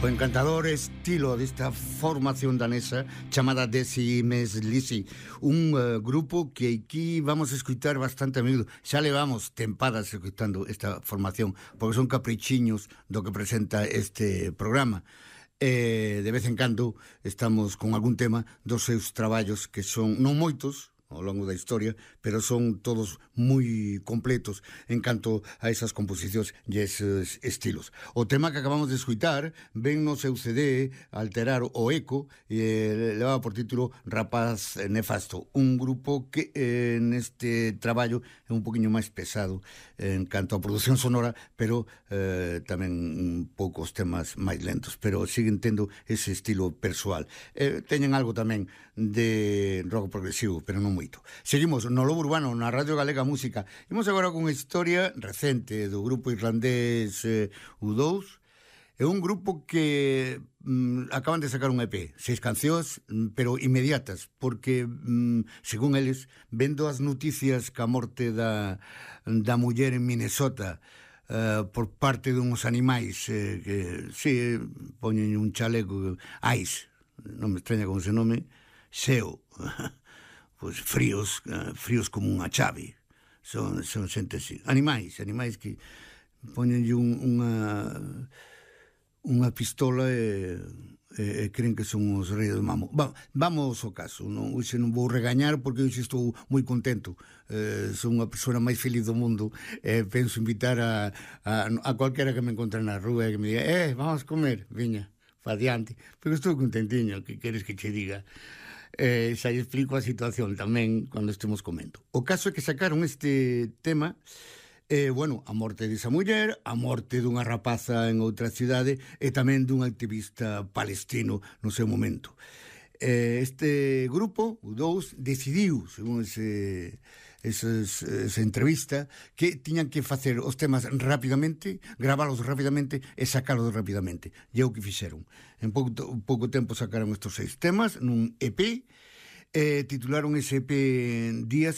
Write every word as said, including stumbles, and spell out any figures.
O encantador estilo desta formación danesa chamada Desi Meslisi, un uh, grupo que aquí vamos a escutar bastante a menudo. Xa levamos tempadas escutando esta formación, porque son caprichiños do que presenta este programa. E de vez en cando estamos con algún tema dos seus traballos, que son non moitos ao longo da historia, pero son todos moi completos en canto a esas composicións e eses estilos. O tema que acabamos de escutar ven no seu C D Alterar o Eco e leva por título Rapaz Nefasto, un grupo que eh, neste traballo é un poquinho máis pesado en canto a produción sonora, pero eh, tamén un pouco os temas máis lentos, pero siguen tendo ese estilo persoal. Eh, teñen algo tamén de rock progresivo, pero non moito. Seguimos no Lobo Urbano, na Radio Galega Música. Imos agora con unha historia recente do grupo irlandés eh, U dous. É un grupo que mm, acaban de sacar un E P, seis cancións, pero inmediatas, porque, mm, según eles, vendo as noticias ca morte da, da muller en Minnesota uh, por parte dunhos animais eh, que, si, poñen un chaleco Ice, non me extraña como se nome, Xeo, pois fríos, uh, fríos como unha chave. Son, son xente así. Animais, animais que poñenlle un, unha unha pistola e, e, e creen que son os reis do mamo. Va, vamos ao caso, non, hoxe non vou regañar porque hoxe estou moi contento. Eh, son unha persona máis feliz do mundo e eh, penso invitar a, a, a cualquera que me encontre na rúa e que me diga, eh, vamos comer, viña, fa diante, pero estou contentiño, que queres que che diga? Eh, xa explico a situación tamén cando estemos comendo. O caso é que sacaron este tema, eh, bueno, a morte desa muller, a morte dunha rapaza en outra cidade e tamén dun activista palestino no seu momento. Eh, este grupo, U dous, decidiu, según ese, eses, esa entrevista, que tiñan que facer os temas rapidamente, gravalos rapidamente e sacalos rapidamente. E é o que fixeron. En pouco, pouco tempo sacaron estes seis temas nun E P, eh, titularon ese E P Días